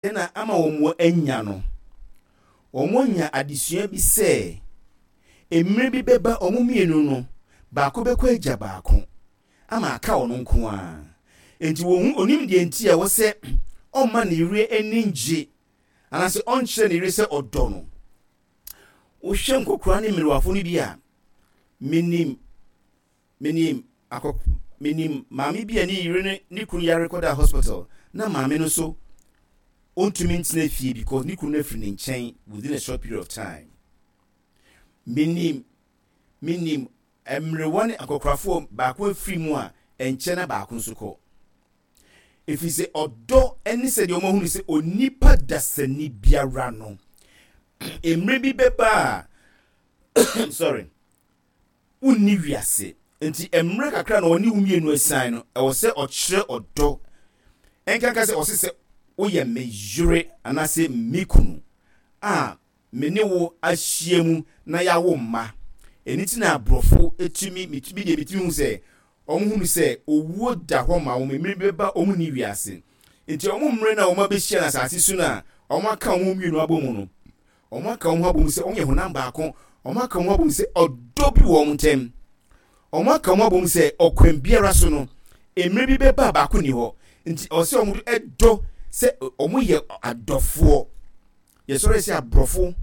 Na ama wɔanya no, wɔanya adesua bi sɛ, mmerɛ bi bɛba wɔn mmienu no, baako bɛkɔ agya baako, ama aka ɔno nko ara. Enti wɔhu, ɔnim deɛ nti a ɛwɔ sɛ ɔmma ne yere ani ngye, anaasɛ ɔnkyerɛ ne yere sɛ ɔdɔ no. Wohwɛ nkɔkoraa ne mmerewafo no bi a, menim Menim akɔk menim maame bi a ne yere ne ne kunu yare kɔdaa hospital na maame no nso ɔntumi ntena fie because ne kunu no afiri ne nkyɛn within a short period of time. Menim menim mmerewa ne akɔkorafoɔ baako afiri mu a ɛnkyɛ na baako nso kɔ. Ɛfiri sɛ ɔdɔ ne sɛdeɛ wɔahunu sɛ onipa dasani biara no mmerɛ bi bɛba a sorry Wonni wiase, enti mmerɛ kakra na ɔne wo mmienu asiane no, ɛwɔ sɛ ɔkyerɛ ɔdɔ. Ɛnkanka sɛ ɔse sɛ woyɛ me yere anaasɛ me kunu a me ne wo ahyia mu na yɛawo mma. Ɛno nti na aborɔfo tumi, me deɛ metumi hu sɛ wɔn hunu sɛ owuo da hɔ ma wɔn, mmerɛ bi bɛba wɔn nni wiase. Nti wɔn mmerɛ no a wɔn abɛhyia no asase so no a wɔn aka wɔn mmienu abɔ mu no, Wɔaka wɔn ho abom sɛ wɔyɛ honam baako. Wɔaka wɔn ho abom sɛ ɔdɔ bi wɔ wɔn ntam. Wɔaka wɔn ho abom sɛ ɔkwan biara so no, mmerɛ bi bɛba a baako nni hɔ. Nti ɛwɔ sɛ wɔn dɔ sɛ wɔyɛ adɔfoɔ. Yɛsɔre sɛ aborɔfo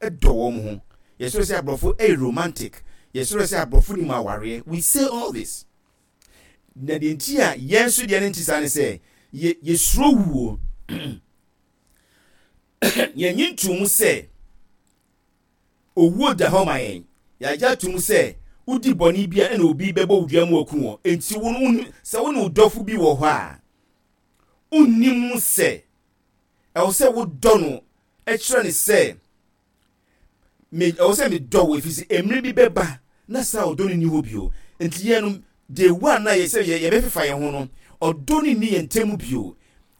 dɔ wɔn ho. Yɛsɔre sɛ aborɔfo yɛ romantic. Yɛsɔre sɛ aborɔfo nim awareɛ. We say all this. Na deɛ nti a yɛn nso deɛ no nti saa ne sɛ, yɛ yɛsuro wuo. Yɛnnye nto mu sɛ owuo da hɔ ma yɛn. Yɛagye ato mu sɛ wodi bɔne bi a ɛna obi bɛbɔ wo dua mu aku wɔ. Enti wo no, sɛ wo ne wo dɔfo bi wɔ hɔ a, wonnim sɛ ɛwɔ sɛ wodɔ no kyerɛ no sɛ Me, ɛwɔ sɛ medɔ wo ɛfiri sɛ mmerɛ bi bɛba na saa ɔdɔ no nni hɔ bio. Nti yɛn no, day one na yɛ sɛ yɛbɛfefa yɛn ho no, ɔdɔ no nni yɛn ntam bio.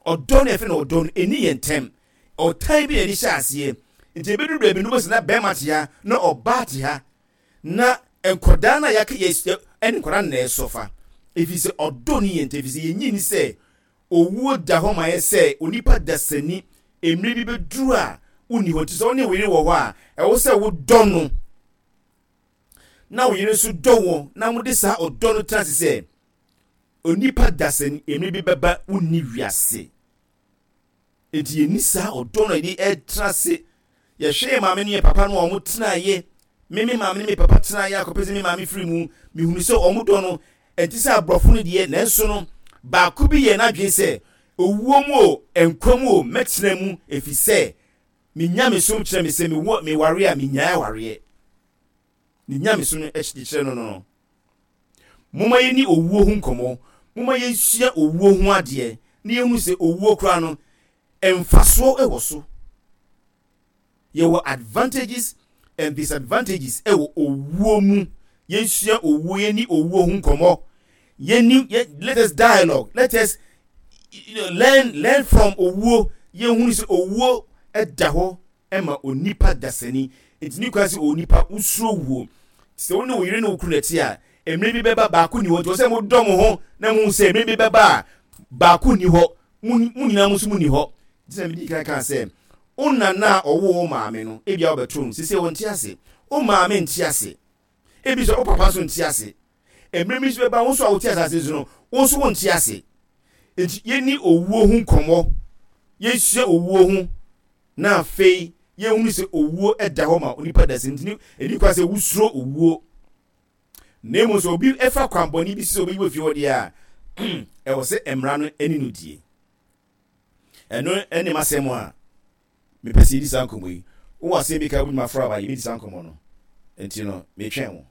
Ɔdɔ no yɛfrɛ no ɔdɔ no, ɛnni yɛn ntam. Ɔtan bi na yɛde hyɛ aseɛ. Nti ɛbɛduru baabi no wobɛsɛ na bɛrima te ha na ɔbaa te ha na nkwadaa no a yɛaka yɛ ɛne nkwadaa no na ɛsɔfa. Ɛfiri sɛ ɔdɔ no yɛn ntam, ɛfiri sɛ yɛnyi ni sɛ Owuo da hɔ ma yɛ sɛ onipa dasani, mmerɛ bi bɛduru a wonni hɔ. Nti sɛ wo ne wo yere wɔ hɔ a, ɛwɔ sɛ wodɔ no na wo yere nso dɔ wo na mode saa ɔdɔ no tena ase sɛ onipa dasani, mmerɛ bi bɛba wonni wiase. Enti yɛnni saa ɔdɔ no a yɛde ɛtena ase. Yɛhwɛ yɛn maame ne yɛn papa no a wɔn tenaeɛ. Me me maame ne me papa tenaeɛ akɔpɛ sɛ me maame firi mu. Mehunu sɛ wɔn dɔ no ɛnte sɛ aborɔfo no deɛ, nanso no baako bi yɛɛ n'adwene sɛ owuo mu o, nkwa mu o, mɛtena mu ɛfiri sɛ me nyamesom kyerɛ me sɛ mewɔ meware a menyae awareɛ. Ne nyamesom no kyerɛ no no. Momma yɛnni owuo ho nkɔmmɔ. Momma yɛnsua owuo ho adeɛ na yɛnhunu sɛ owuo koraa no, mfasoɔ wɔ so. Yɛwɔ advantages and disadvantages wɔ owuo mu. Yɛnsua owuo, yɛnni owuo ho nkɔmmɔ. Yɛnni, yɛ, let us dialogue, let us you know, learn, learn from owuo. Yɛnhunu sɛ owuo da hɔ ma onipa dasani. Enti ne kwan sɛ onipa wosuro wuo. Sɛ wo ne wo yere ne wo kunu na ɛte a, mmerɛ bi bɛba baako nni hɔ. Nti wɔ sɛ modɔ mo ho na mohu sɛ mmerɛ bi bɛba a baako nni hɔ. Mo nyinaa mo nso mo nni hɔ. Nti na medi kan kaa sɛ, wo nana a ɔwoo wo maame no, ebia wobɛto no. Seesei ɔnte ase. Wo maame nte ase. Ebi nso wo papa nso nte ase. Mmerɛ bi nso bɛba wo nso a wote asase so no, wo nso wonte ase. Nti yɛnni owuo ho nkɔmmɔ. Yɛnsua owuo ho na afei yɛhunu sɛ owuo da hɔ ma onipa da sɛ nti ɛni kwa sɛ wosuro owuo. Na mmom sɛ obi fa kwanbɔne bi sɛ obeyi wɔ fie hɔ deɛ a, ɛwɔ sɛ mmara no ne no die. Ɛno ne m'asɛm a mepɛ sɛ yɛdi saa nkɔmmɔ yi. Wowɔ asɛm bi ka wobɛtumi afrɛ aba yɛbɛdi saa nkɔmmɔ no. Nti no, metwɛn wo.